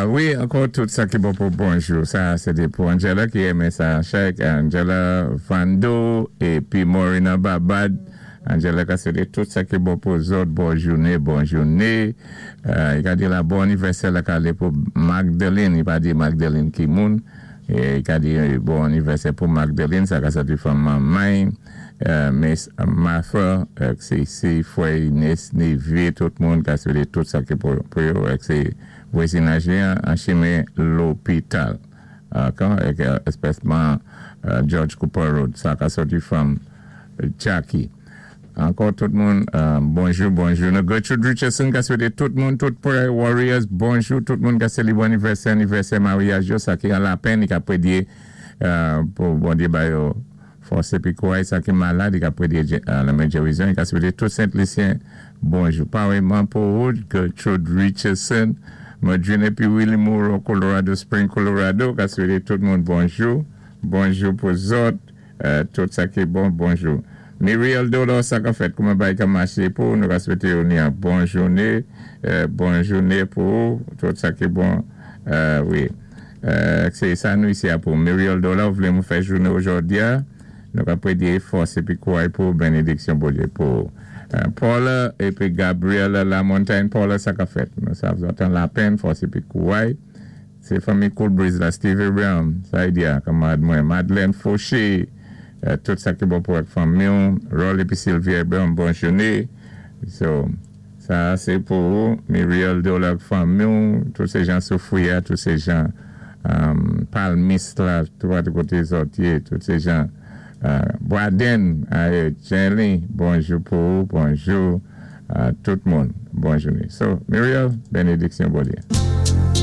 Wi, ankò tout sa ki bon pou bonjou. Sa sé té pou Angela ki renmen sa chèk. Angela Vando épi Morina Babad. Angela ka swété tout sa ki bon pou zòt. Bon jouné, bon jouné. I ka di la bon anivèsè la ka alé pou Magdeline. I pa di Magdeline ki moun. I ka di bon anivèsè pou Magdeline. Sa ka sòti fanm manmay. Miss Martha, sé si fwè, niece, neveu, tout moun ka swété tout sa ki pou yo. Sé vwazinaj li an chimen lopital. Kan espèsman George Cooper Road. Sa ka sòti fanm Jackie. Ankò tout moun, bonjou, bonjou. Nou Gertrude Richardson ka swété tout moun, tout Prayer Warriors, bonjou. Tout moun ka sélébwé anivèsè, anivèsè maryaj yo, sa ki an lapenn, i ka prédyé pou Bondyé ba yo fòs épi kouray. Sa ki malad, i ka prédyé lanmen gérizon. I ka swété tout Sent Lisyen bonjou. Paréyman pou ou, Gertrude Richardson, Madrine épi Willie Moreau, Colorado Spring, Colorado, ka swété tout moun bonjou. Bonjou pou zòt. Tout sa ki bon, bonjou. Muriel Dolor, sa ka fèt? Kouman bagay ka maché pou ou? Nou ka swété ou ni an bon jouné, bon jouné pou ou, tout sa ki bon, wi. Sé sa nou isi a pou ou. Muriel Dolor, ou vlé mou fè jouné ojòdi a, nou ka prédyé fòs épi kouray pou ou, bénédiksyon Bondyé pou ou. Paula épi Gabriella Lamontagne, Paula, sa ka fèt? Nou sav zòt an lapenn, fòs épi kouray. Sé fanmi Cool Breeze la, Stevie Brown, sa y di a, kanmarad mwen, Madeleine Fauché, tout sa ki bon pou ak fanmi w, Roll épi Sylvia Brown, bon jouné. So, sa a sé pou ou, Muriel Dola ak fanmi w, tout sé jan Soufrière, tout sé jan Palmis la, tout koté zòt yé, tout sé jan Braden, aé, Jenny, bonjou pou ou, bonjou tout moun, bon jouné. So, Muriel, bénédiksyon Bondyé.